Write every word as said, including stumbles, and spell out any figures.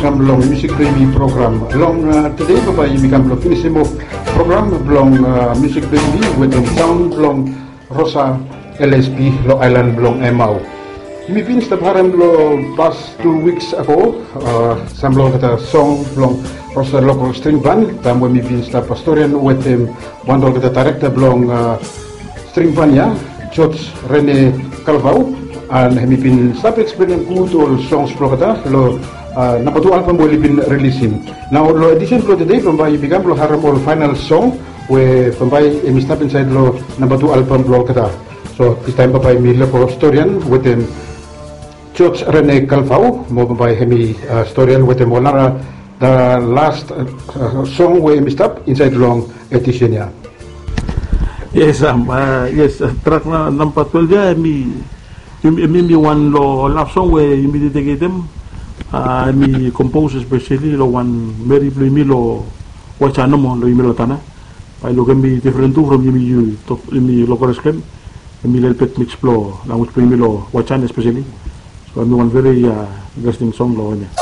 Kam long musik blong yumi program. Long tede bambae yumi kam blong finisim of program blong musik blong yumi wetem saon blong Rosa L S P long aelan blong Emau. Yumi bin stap harem long pas tu wiks ago sampela olgeta song blong Rosa Local String Band taem we mi bin stap pastorian wetem wan olgeta dairekta blong string band ya, George Rene Kalvau, an hemi bin stap eksplenem gud ol songs blong olgeta long namba tu album we oli bin rilisim. Nao long edisen blong tede bambae yumi kam blong harem ol faenal song we bambae hemi stap insaed long namba tu album blong olgeta. So distaem bambae yumi lego storian wetem George Rene Kalvau mo bambae hemi storian wetem ol nara the last song we hemi stap insaed long edisen ya. Yes, am, yes, trak namba twelve ya hemi, hemi wan long love song we yumi dedeketem. Hemi compose especially long wan meri blong yumi long Wajan nomo long yumi long Tanna. Bae luk hemi difren tu from yumi, yumi Lokoresh Klen. Hemi lelebet mix blong language blong yumi long Wajan especially. So hemi wan very interesting song long wanem ya.